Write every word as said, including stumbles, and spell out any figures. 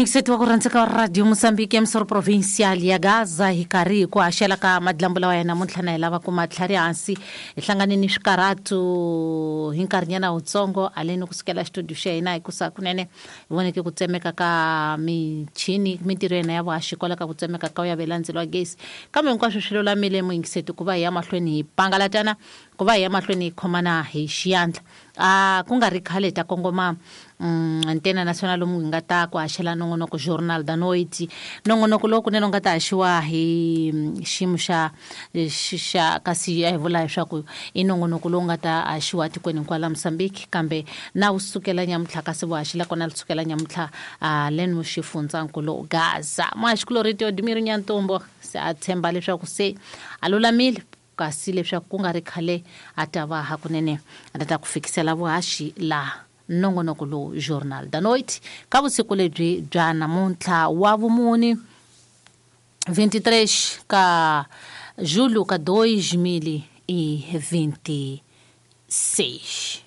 Yingiseti wa ku rhandzeka wa Radio Mozambique ya Misoro Provincial ya Gaza, hi karhi hi ku haxela ka madlambu lawa ya namuntlha na hi lava ku matlhari hansi hi hlangane ni swikarhatu hi nkarhinyana wutsongo aleni kusukela xitudio xa hina hi kusa kunene hi voneke ku tsemeka ka michini mintirho ya hina ya vuhaxi kwala ka ku tsemeka ka ya velandzelo wa gezi, kambe hinkwaswo swi lulamile muyingiseti ku va hi ya mahlweni hi pangalatana, ku va hi ya mahlweni hi khomana hi xiyandla. A ku nga ri khale ta kongoma mm, Antena Nacional lomu hi nga ta ku haxela nongonoko Journal da Noite, nongonoko lowu kunene u nga ta haxiwa hi xiyimo xa xa kasi a hi vula leswaku i nongonoko lowu nga ta haxiwa tikweni hinkwalo la Mozambique, kambe na wu sukela nyamuntlha kasi vuhaxi la kona li sukela nyamuntlha leno xifundzankulu Gaza. Muhaxikulori Teodimiro Nyantombo se a tshemba leswaku se a lulamile, kasi leswaku ku nga ri khale a ta va hakunene a ta ta ku fikisela vuhaxi laha nongonoko lowu Journal da Noite ka vusiku lebyi bya namuntlha wa vumuni vinte e três ka julho ka dois mil e vinte e seis.